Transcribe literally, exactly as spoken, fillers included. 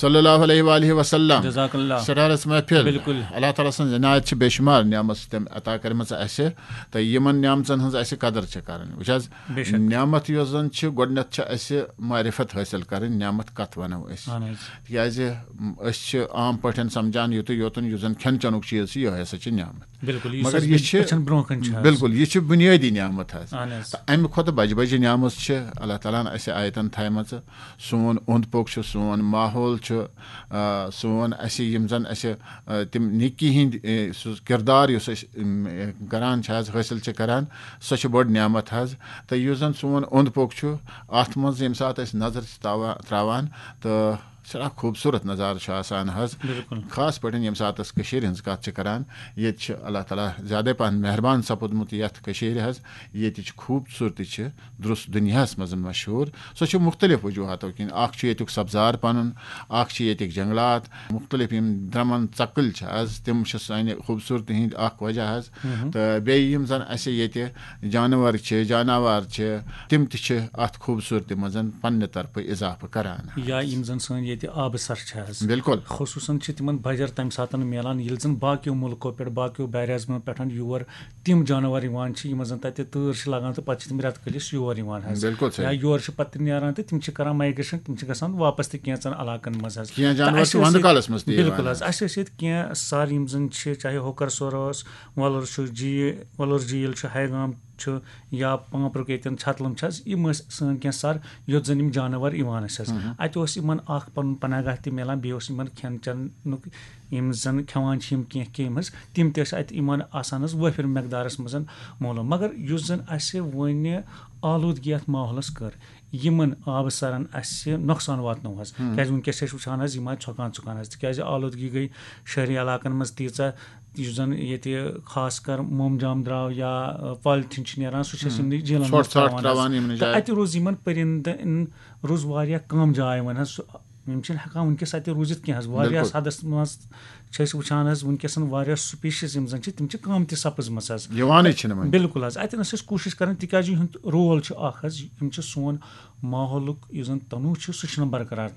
صلی اللہ علیہ وآلہ وسلم۔ جزاک اللہ۔ سٹارس محفل۔ بالکل۔ اللہ تعالیٰ سٕنٛز عنایت چھِ بے شمار نعمت چھِ تٔمۍ عطا کٔرمٕژ اَسہِ، تہٕ یِمن نعمژن ہٕنٛز اَسہِ قدر چھِ کرٕنۍ۔ وٕچھ حظ، بے شک۔ نعمت یۄس زن چھِ، گۄڈٕنٮ۪تھ چھِ اَسہِ معرفت حٲصِل کرٕنۍ، نعمت کتھ ونو أسۍ؟ اہن حظ۔ تِکیازِ أسۍ چھِ عام پٲٹھۍ سمجھان یُتُے یوتن یُس زن کھٮ۪ن چٮ۪نُک چیٖز چھُ، یِہوٚے ہسا چھِ نعمت۔ بالکل، یُس مگر اَسہِ یہِ چھِ أچھن برونٛہہ کَنہِ چھُ حظ۔ بالکل، یہِ چھِ بُنیٲدی نعمت حظ۔ اہن حظ۔ تہٕ اَمہِ کھۄتہٕ بجہِ بجہِ نعمت چھِ اللہ تعالیٰ ہن اَسہِ آیتن تھایمژٕ۔ سون اوٚنٛد پوٚک چھُ، سون ماحول چھُ، آ، سون اَسہِ یِم زن اَسہِ، آ، تِم نیکی ہٕنٛدۍ، اے، سُہ کردار یُس أسۍ، اِم، اے، کران چھِ حظ، حٲصِل چھِ کران، سۄ چھِ بٔڑ نعمت حظ۔ تہٕ یُس زن سون اوٚنٛد پوٚک چھُ، اَتھ منٛز ییٚمہِ ساتہٕ أسۍ نظر چھِ تاوا-، تراوان، تہٕ سٮ۪ٹھاہ خوٗبصوٗرت نظارٕ چھُ آسان حظ۔ بالکل۔ خاص پٲٹھۍ ییٚمہِ ساتہٕ أسۍ کٔشیٖرِ ہٕنٛز کَتھ چھِ کَران، ییٚتہِ چھِ اللہ تعالیٰ زیادَے پَہَن مہربان سَپُدمُت یَتھ کٔشیٖرِ حظ۔ ییٚتِچ خوٗبصوٗرتی چھِ درُس دُنیاہَس منٛز مشہوٗر۔ سۄ چھِ مُختلف وجوٗہاتو کِنۍ۔ اَکھ چھُ ییٚتیُک سبزار پَنُن، اَکھ چھِ ییٚتِکۍ جنٛگلات، مُختلف یِم درٛمَن ژَکٕلۍ چھِ حظ، تِم چھِ سانہِ خوٗبصوٗرتی ہٕنٛدۍ اَکھ وجہ حظ۔ تہٕ بیٚیہِ یِم زَن اَسہِ ییٚتہِ جانور چھِ، جاناوار چھِ، تِم تہِ چھِ اَتھ خوٗبصوٗرتی منٛز پننہِ طرفہٕ اضافہٕ کران۔ یا یِم زَن سٲنۍ ییٚتہِ آبہٕ سَر چھِ حظ۔ بالکل۔ خصوٗصاً چھِ تِمن بجر تَمہِ ساتہٕ میلان، ییٚلہِ زَن باقیو مُلکو پٮ۪ٹھ، باقیو بیر اعظمو پٮ۪ٹھ یور تِم جانور یِوان چھِ، یِمن زَن تَتہِ تۭر چھِ لگان تہٕ پَتہٕ چھِ تِم رٮ۪تہٕ کٲلِس یور یِوان حظ۔ بالکل صحیح۔ یا یور چھِ پَتہٕ تِم نیران تہٕ تِم چھِ کران مایگریشن، تِم چھِ گژھان واپس تہِ کینٛژن علاقن منٛز حظ۔ کینٛہہ تہٕ جانور اَسہِ چھِ ٲسۍ وَندٕ ییٚتہِ، کالَس منٛز تہِ یِوان بالکل حظ، حظ۔ اَسہِ ٲسۍ ییٚتہِ کینٛہہ سَر یِم زَن چھِ، چاہے ہوکر سور اوس، وۄلُر چھُ، جی-، وۄلُر جھیٖل چھُ، ہیگام چھُ، یا پانٛپرُک ییٚتٮ۪ن چھتلم چھِ حظ، یِم ٲسۍ سٲنۍ کینٛہہ سَر، یوٚت زَن یِم جانور یِوان ٲسۍ حظ۔ اَتہِ اوس یِمن اکھ پَنُن پناہ گاہ تہِ میلان، بیٚیہِ اوس یِمن کھٮ۪ن چٮ۪نُک، یِم زَن کھٮ۪وان چھِ یِم کینٛہہ کیٚمۍ حظ، تِم تہِ ٲسۍ اَتہِ یِمن آسان حظ وٲفِر مقدارَس منٛز مولوم۔ مگر یُس زَن اَسہِ وۄنۍ آلودگی اَتھ ماحولَس کٔر، یِمن آبہٕ سَرَن اَسہِ نۄقصان واتنو حظ۔ کیٛازِ وٕنکیٚس چھِ أسۍ وٕچھان حظ، یِم آیہِ ژھۄکان ژھۄکان حظ، تِکیٛازِ آلودگی گٔے شہری علاقَن منٛز تیٖژاہ، یُس زَن ییٚتہِ خاص کر موم جام درٛاو یا، آ، پالتھیٖن چھِ نیران، سُہ چھِ أسۍ یِمنٕے جھیٖلَن منٛز ژھۄٹھ ژھۄٹھ ترٛاوان حظ۔ ترٛاوان یِمنٕے تہٕ جایَن۔ اَتہِ روز یِمَن پٔرِندَن روٗز واریاہ کَم جاے وۄنۍ حظ۔ سُہ، یِم چھِنہٕ ہٮ۪کان وٕنکیٚس اَتہِ روٗزِتھ کینٛہہ حظ۔ واریاہ بالکل۔ حدس منٛز چھِ أسۍ وٕچھان حظ، وٕنکیٚس واریاہ species یِم زَن چھِ، تِم چھِ کَم تہِ سَپٕزمَژٕ حظ۔ یِوانٕے چھِنہٕ وۄنۍ۔ بالکل حظ، اَتٮ۪ن ٲسۍ أسۍ کوٗشِش کَران، تِکیٛازِ یِہُنٛد رول چھُ اَکھ حظ، یِم چھِ سون ماحولُک یُس زَن تنوع چھُ، سُہ چھُنہٕ برقرار